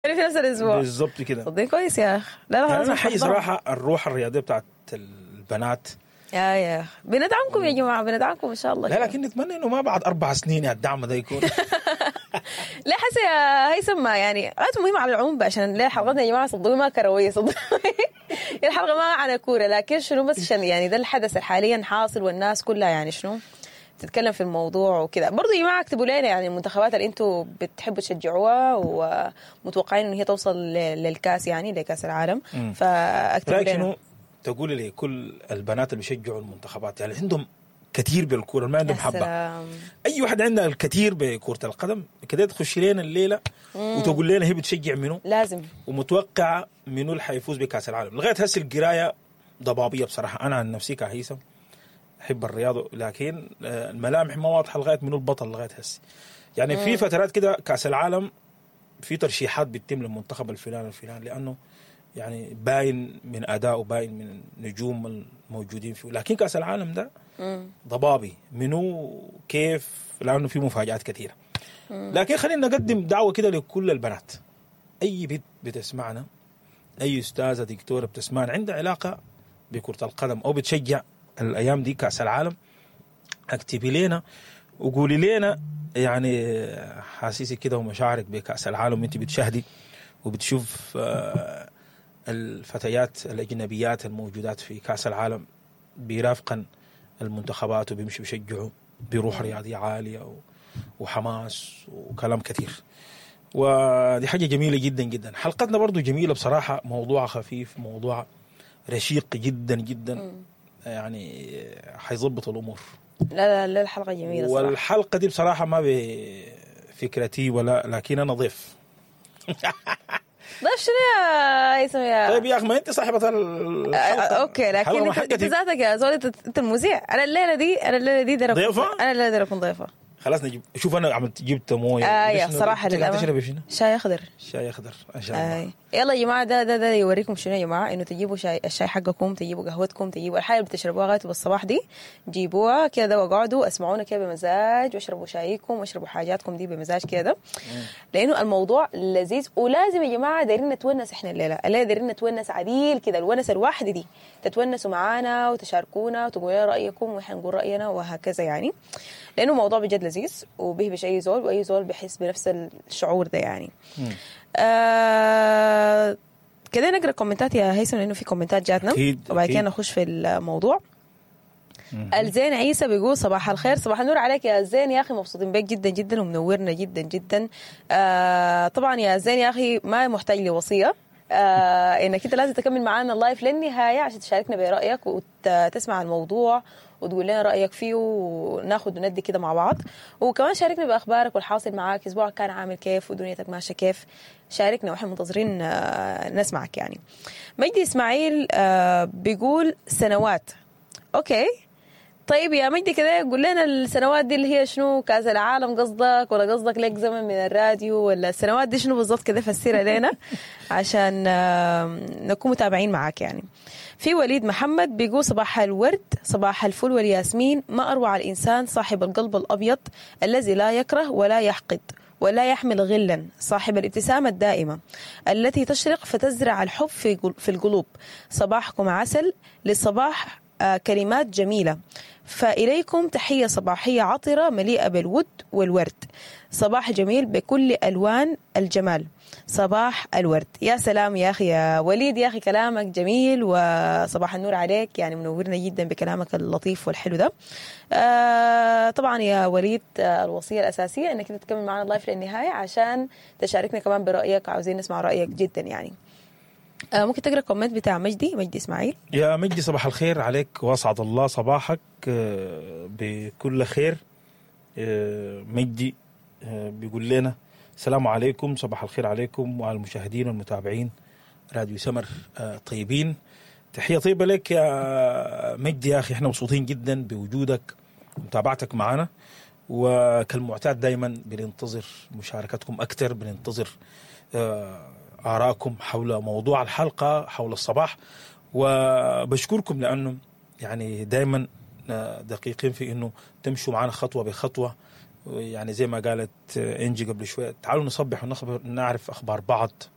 في نفس الاسبوع. بالظبط كده. صدقني كويس يا اخ. لا لا يعني خلاص انا مش حي هحضرها. صراحة الروح الرياضية بتاعت البنات. يا اخ بندعمكم يا جماعة، بندعمكم ان شاء الله. لا كده. لكن نتمنى انه ما بعد 4 سنين يا الدعم ده يكون. لا حسي يا هيثم، ما يعني غايته مهم على العموم بقى، عشان ليه حلقتنا يا جماعة صدقوني ما كروية، صدقوني الحلقة ما عن كوره، لكن شنو بس عشان يعني ده الحدث حاليا حاصل والناس كلها يعني شنو تتكلم في الموضوع وكده. برضو يا جماعة اكتبوا لنا يعني المنتخبات اللي انتم بتحبوا تشجعوها ومتوقعين ان هي توصل للكاس، يعني لكاس العالم. فاكتبوا رايك لنا. شنو تقولي لكل البنات اللي بيشجعوا المنتخبات، يعني عندهم كثير بالكورة، ما عندهم يا حبه؟ سلام. اي واحد عندها الكثير بكره القدم كده تخش لنا الليلة وتقول لنا هي بتشجع منو لازم. ومتوقع منو اللي حيفوز بكاس العالم. لغاية هسه القراية ضبابية بصراحه. انا عن نفسي كهيثم احب الرياضه، لكن الملامح ما واضحة لغاية منو البطل لغاية هسه. يعني في فترات كده كاس العالم في ترشيحات بتتم للمنتخب الفلاني الفلاني، لانه يعني باين من اداؤه، باين من النجوم الموجودين فيه، لكن كاس العالم ده ضبابي منو كيف، لانه في مفاجات كثيرة. لكن خلينا نقدم دعوه كده لكل البنات، اي بنت بتسمعنا، اي استاذه دكتورة بتسمعنا عندها علاقة بكره القدم او بتشجع الايام دي كاس العالم، اكتبي لنا وقولي لنا يعني حاسيسك كده ومشاعرك بكاس العالم وانت بتشاهدي وبتشوف الفتيات الاجنبيات الموجودات في كاس العالم بيرافقن المنتخبات وبيمشوا بيشجعوا بروح رياضية عالية وحماس وكلام كثير، ودي حاجة جميلة جدا جدا. حلقتنا برضو جميلة بصراحه، موضوع خفيف، موضوع رشيق جدا جدا، يعني حيظبط الامور. لا لا لا، الحلقة جميلة صراحه. والحلقة دي بصراحة ما بفكرتي ولا، لكن انا ضيف. ضيف شنو يا هيثم يا طيب يا اخي، ما انت صاحبه الحلقه. okay، لكن الحلقة ما انت انت حقتي. ذاتك يا زول، انت المذيع. انا الليله دي داير ضيفة؟ انا الليلة داير اكون ضيفه. خلاص نجيب. شوف انا عملت جبت مويه. يا شنو؟ صراحة انت قاعد للأمانة. تشربي شنو؟ شاي اخضر. شاي اخضر ان شاء الله. آي. يلا يا جماعه، ده يوريكم شنو يا جماعه، انه تجيبوا شاي، الشاي حقكم، تجيبوا قهوتكم، تجيبوا الحاجة اللي بتشربوها غايته بالصباح دي، جيبوها كده واقعدوا اسمعونا كده بمزاج، واشربوا شايكم واشربوا حاجاتكم دي بمزاج كده، لانه الموضوع لذيذ ولازم يا جماعة دايرين نتونس احنا الليله. الليلة دايرين نتونس عديل كده، الونسه الواحدة دي، تتونسوا معانا وتشاركونا وتقولوا لنا رايكم واحنا نقول راينا وهكذا يعني، لانه موضوع بجد لذيذ وبيهبش اي زول، واي زول بيحس بنفس الشعور ده يعني. كده نقرا كومنتات يا هيثم، لانه في كومنتات جاتنا. وبعد كده نخش في الموضوع. الزين عيسى بيقول صباح الخير. صباح النور عليك يا زين يا اخي، مبسوطين بك جدا جدا ومنورنا جدا جدا. طبعا يا زين يا اخي ما محتاج لوصية انك انت لازم تكمل معانا ال live للنهاية عشان تشاركنا برايك وتسمع الموضوع وتقول لنا رايك فيه وناخد وندي كده مع بعض. وكمان شاركنا باخبارك والحاصل معاك، اسبوعك كان عامل كيف ودنيتك ماشية كيف، شاركنا واحنا منتظرين نسمعك يعني. مجدي اسماعيل بيقول سنوات. okay طيب يا مجدي، كده قول لنا السنوات دي اللي هي شنو؟ كاس العالم قصدك، ولا قصدك لك زمن من الراديو، ولا السنوات دي شنو بالضبط؟ كده فسرها لنا عشان نكون متابعين معاك يعني. في وليد محمد بيقول صباح الورد، صباح الفل والياسمين. ما أروع الإنسان صاحب القلب الأبيض الذي لا يكره ولا يحقد ولا يحمل غلا، صاحب الابتسامة الدائمة التي تشرق فتزرع الحب في القلوب. صباحكم عسل، للصباح كلمات جميلة، فإليكم تحية صباحية عطرة مليئة بالود والورد. صباح جميل بكل ألوان الجمال، صباح الورد. يا سلام يا أخي يا وليد يا أخي، كلامك جميل وصباح النور عليك، يعني منورنا جدا بكلامك اللطيف والحلو ده. طبعا يا وليد، الوصية الأساسية أنك أنت تكمل معنا ال live للنهاية عشان تشاركنا كمان برأيك، عاوزين نسمع رأيك جدا يعني. ممكن تقرأ comment بتاع مجدي، مجدي إسماعيل؟ يا مجدي صباح الخير عليك واسعد الله صباحك بكل خير. مجدي بيقول لنا السلام عليكم، صباح الخير عليكم وعلى المشاهدين والمتابعين راديو سمر طيبين. تحية طيبة لك يا مجدي يا أخي، احنا مبسوطين جدا بوجودك ومتابعتك معنا، وكالمعتاد دائما بننتظر مشاركتكم أكثر، بننتظر آراءكم حول موضوع الحلقة حول الصباح، وبشكركم لأنه يعني دائما دقيقين في أنه تمشوا معنا خطوة بخطوة. يعني زي ما قالت انجي قبل شوية، تعالوا نصبح ونخبر، نعرف اخبار بعض.